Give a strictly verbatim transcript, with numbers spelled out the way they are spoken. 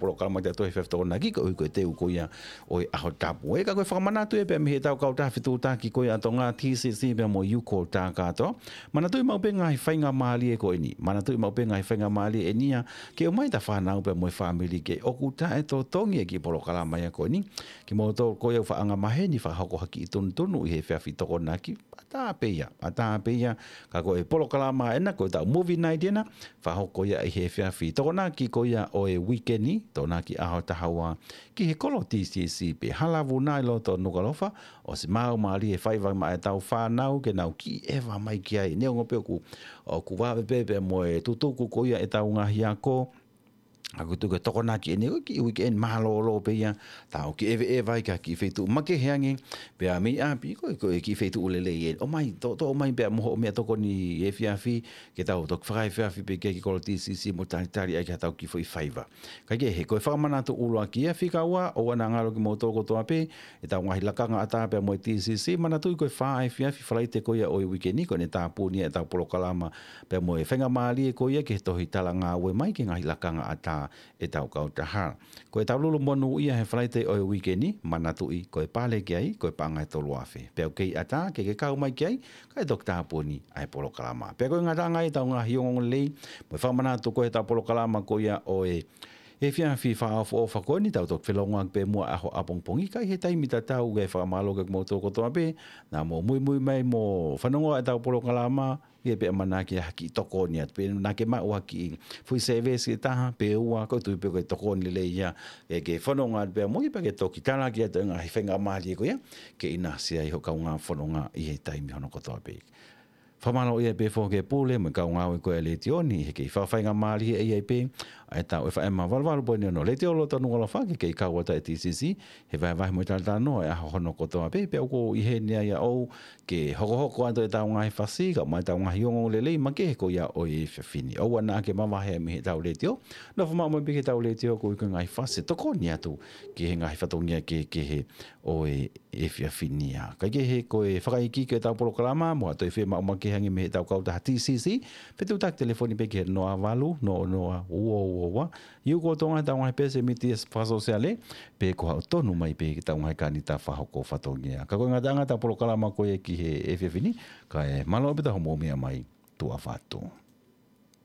polokalama ʻa tautolu he efiafi Tokonaki, koeʻuhi ko e teu ko ia ʻo e ʻaho tapu. Ē, ka ko e fakamanatu ia pea mei heʻetau kautaha fetuʻutaki ko ia ʻa Tonga, T C C pea mo e Yuko Takato. Manatuʻi maʻu pē ngaahi faingamālie ko eni. Manatuʻi maʻu pē ngaahi faingamālie eni ia ke ʻomai ʻeta fānau pea mo e fāmili ke ʻoku taʻetotongi e kiʻi polokalama ia ko eni. Kimoutolu ko ia ʻoku faʻa angamaheni fakahoko ha kiʻi tunutunu ʻi he efiafi Tokonaki, ʻatā pē ia, ʻatā pē ia, ka ko e polokalama ena, ko ʻetau movie night ena, fakahoko ia ʻi he efiafi Tokonaki ko ia ʻo e uike ni, Tokonaki ʻaho taha ua, ki he kolo T C C pē, Halavuna ʻi loto Nukuʻalofa, ʻosi maʻu mālie e faiva maʻa ʻetau fānau ke nau kiʻi ʻeva mai ki ai, neongo pē ʻoku, ʻoku vave pē pea mo e tutuku ko ia ʻetau ngaahi ako, ʻoku tuku e Tokonaki eni, ko e kiʻi weekend mālōlō pē ia, tau kiʻi ʻeveʻeva ai ki ha kiʻi feituʻu makehe ange, pea mei ʻapi, ko e, ko e kiʻi feituʻu lelei ē. ʻOmai, tō, tō ʻomai pea mo hoʻo meʻatokoni efiafi, ke tau toki fakaefiafi pē ki he kolo T C C mo talitali ai ki haʻatau kiʻi foʻi faiva. Kaikehe, ko e fakamanatu ʻuluaki ia, fika ua, ʻoua naʻa ngalo kimoutolu kotoa pē, ʻetau ngaahi lakanga ʻatā pea mo e T C C, manatuʻi ko e fā efiafi Falaite ko ia ʻo e uike ni, ko ʻene tāpuni ʻetau polokalama pea mo e faingamālie ko ia ki he tohi talangāue mai ki he ngaahi lakanga ʻatā ʻetau kautaha. Ko ʻetau lulu monūʻia he Falaite ʻo e uike ni, manatuʻi ko e pale ki ai, ko e paʻanga ʻe tolu afe. Pea ʻoku kei ʻatā, ke ke kau mai ki ai, kae toki tāpuni ʻa e polokalama. Pea ko e ngataʻanga ia ʻetau ngaahi ongoongolelei, mo e fakamanatu ko ē ʻetau polokalama ko ia ʻo e efiafi fakaʻofoʻofa ko eni, tau toki felōngoaki pē muʻa ʻaho ʻapongipongi, ka ʻi he taimi tatau ke fakamālō ki hoʻomou kotoa pē, naʻa mou muimui mai mo fanongo ʻetau polokalama, ʻi he pea manaki ha kiʻi tokoni atu, pe naʻa ke maʻu ha kiʻi foʻi sēvesi ʻe taha, pe ua, ko e tui pē ko e tokoni lelei ia, ke, ke fononga atu pea mo ia pea ke toki talaki atu e ngaahi faingamālie ko ia, ke ʻinasi ai hoʻo kaungā fononga ʻi he taimi hono kotoa pē. Fakamālō ia pē foki ki he pule mo e kau ngāue ko ē ʻa e letiō ni, he kei fakafaingamālie ʻi ai pē ʻa ʻetau ʻefa ema valu valu poini ono Letiō loto Nukuʻalofa, ke kei kau atu ʻa e T C C he vahevahe mo e talatalanoa ʻo e ʻaho hono kotoa pē, pea ʻoku ou ʻi heni ai au ke hokohoko atu ʻetau ngaahi fasi, kae ʻumaʻā ʻetau ngaahi ongoongolelei makehe ko ia ʻo e efiafi ni. ʻOua naʻa ke mavahe mei heʻetau letiō, nofo maʻu mai pē ki heʻetau letiō koeʻuhi ko e ngaahi fasi ʻe tokoni atu ki he ngaahi fatongia kehekehe ʻo e efiafi ni ia. Kaikehe ko e fakaikiiki ʻetau polokalama, mou toe fiemaʻu makehe ange mei heʻetau kautaha T C C, fetuʻutaki telefoni pē ki he noa valu, noa noa, ua ua ua, Yuko Tonga ʻetau ngaahi peesi mītia fakasōsiale, pe ko haʻo tonu mai pē ki heʻetau ngaahi kānita fakahoko fatongia. Ka ko e ngataʻanga ʻetau polokalama ko ia ki he efiafi ni, kae mālō pē ʻetau hoʻomou meʻa mai, tuʻa ʻofa atu.